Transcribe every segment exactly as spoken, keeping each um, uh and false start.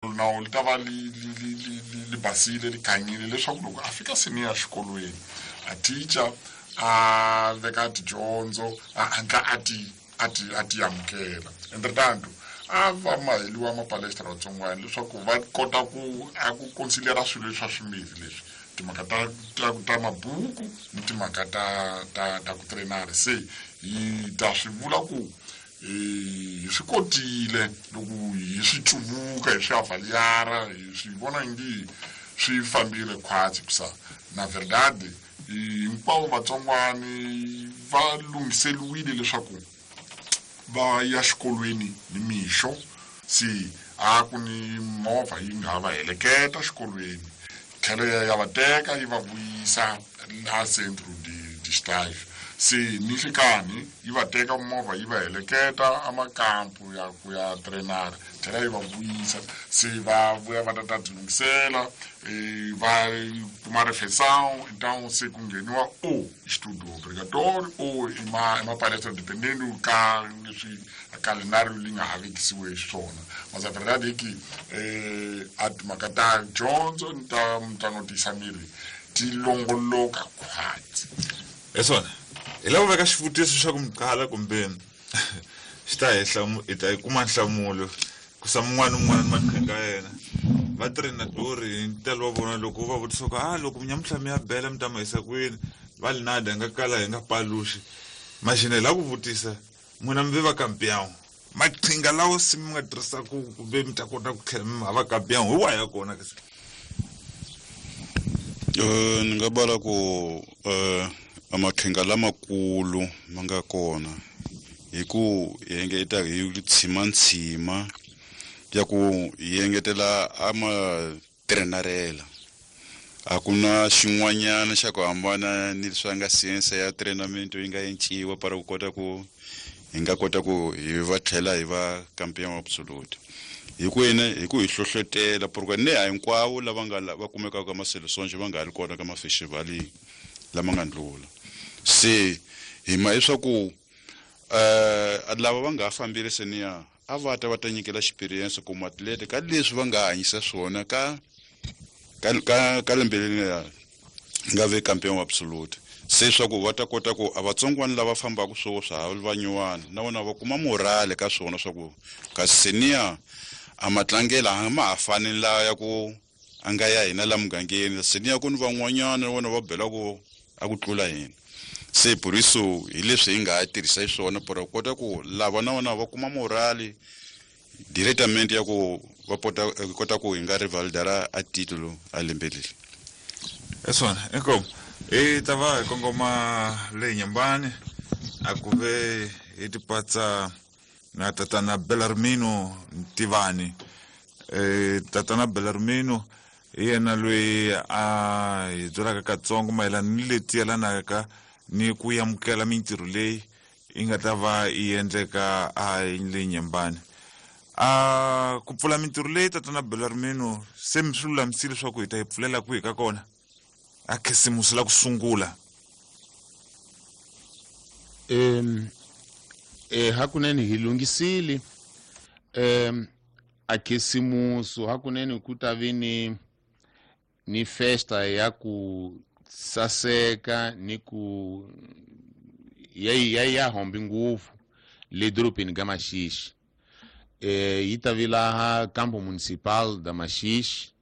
Nawu li ta va li li li li li li basile, li khanyile, leswaku loko a fika senior xikolweni, a teacher a veka tidyondzo, a hatla a ti a ti a ti amukela. Entretanto, a va maheliwa mapalestra vatsongwana leswaku va kota ku a ku considera swilo leswa swimbirhi leswi, timhaka ta ta ta mabuku ni timhaka ta ta ta ku trainara. Se hi ta swi vula ku hi swi kotile loko hi swi cuvuka, hi swi avaliara, hi swi vona ngi swi fambile khwatsi kusa na verdade. Hinkwavo vatsongwani va lunghiseliwile leswaku va ya xikolweni ni mixo. Se a ku ni movha yi nga va heleketa xikolweni, tlhelo ya ya va teka yi va vuyisa la centro de de estágio. Se ni nhlikani yi va teka movha yi va heleketa amakampu ya ku ya trainara, tlhela yi va vuyisa. Se va vuya va ta ta ti lunghisela, va kuma refeição. Então se ku ngheniwa o estudo obrigatório ou i ma i mapalestra, dependendo ka leswi calendário li nga ha vekisiwe xiswona. Mas a verdade é que eh, a timhaka ta dyondzo ni ta mitlangu tiyisa miri ti longoloka khwatsi. Hi swona, hi lava ku veka xivutiso xa ku mi qala kumbe xi ta hi hlamu, hi ta yi kuma nhlamulo ku sa mun'wana ni un'wana ni maqhinga ya yena. Va trenador hi ntalo wa vona, loko va vutisa ku a loko nyamuhla mi ya bela mi ta ma yisa kwini, va li nada, hi nga kala hi nga paluxi. Maxina hi lava ku vutisa n'wina mi ve va campeão, maqhinga lawa se mi nga tirhisaku kumbe mi ta kota ku tlhela mi va campeão hi wahi ya kona ke? Eh ni nga bala ku eh amaqhinga lamakulu ma nga kona hi ku hi engeta hi tshimantsima ya ku hi engetela ama trenarela. A ku na xin'wanyana xa ku hambana ni leswi nga science ya treinamento yi nga enciwa para ku kota ku hi nga kota ku hi va tlhela hi va campeão absolute, hi ku yini? Hi ku hi hlohlotela, porque ne a hinkwavo lava nga va kumekaka ka maseleções va nga ha ri kona ka mafestivali lama nga ndlula. Se hi ma leswaku eh lava va nga ha fambile senior a va ta va ta nyikela experience ku matlete ka leswi va nga hanyisa swona ka ka ka ka lembe leri nga ve campeão absolute. Se swa ku va ta kota ku a vatsongwana lava fambaka swo swa ha va nyuwana na vona va kuma morale ka swona, swa ku kasi senior a matlangelo a ma ha fani la ya ku a nga ya hina la mugangeni. Senior ku ni van'wanyana na vona va bela ku a ku tlula hina. Se por isso hi leswi hi nga ha tirhisa xiswona para ku kota ku lava na vona va kuma morale directamente ya ku va pota kota ku hi nga rivalidara a titulo a lembe leri. Hi swona, inkomu. Hi ta va hi kongoma le Nyambani, a ku ve hi tipatsa na tatana Belarmino Ntivani. eh tatana Belarmino hi yena loyi a hi byelaka katsongo mayelana ni leti yelanaka ni ku amukela mintirho leyi yi nga ta va yi endleka a le Nyembani. A ku pfula mintirho leyi, tatana Belarmino, se mi swi lulamisile leswaku hi ta yi pfulela kwihi ka kona a khisimusi la ku sungula? um eh hakunene hi lunghisile um a khisimusu. Hakunene ku ta vi ni ni festa ya ku saseka ni ku ya ya ya hombi ngopfu le dorobeni ka Maxixi. eh yi ta vi laha campo municipal da Maxixi,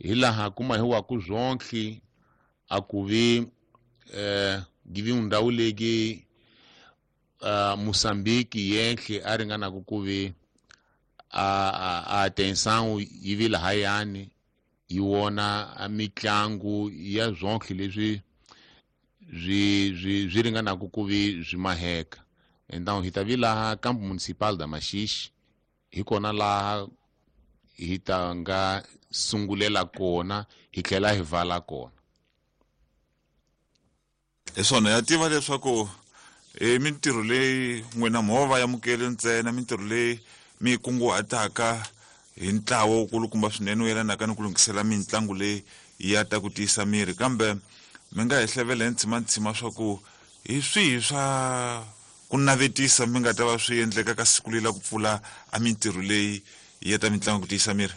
hi laha ku mahiwaku zwonke. A ku vi eh give ndhawu legi uh, Moçambique yenhle a ringanaku ku vi a a atenção yi vi lahayani, yi wona a mitlangu ya zwonke leswi swi swi swi ringanaku ku vi swi maheka. Então hi ta vi laha campo municipal da Maxixi, hi kona laha hi ta nga sungulela kona, hi tlhela hi vala kona. Hi swona, ya tiva leswaku i mintirho leyi n'wina mo va amukeli ntsena, mintirho leyi mi yi kunguhataka hi ntlawa wukulukumba swinene wu yelanaka ni ku lunghisela mitlangu leyi ya ta ku tiyisa miri, kambe mi nga hi hlevela hi ntshimantsima swa ku hi swihi swa ku navetisa mi nga ta va swi endleka ka siku leri la ku pfula a mintirho leyi ya ta mitlangu ku tiyisa miri.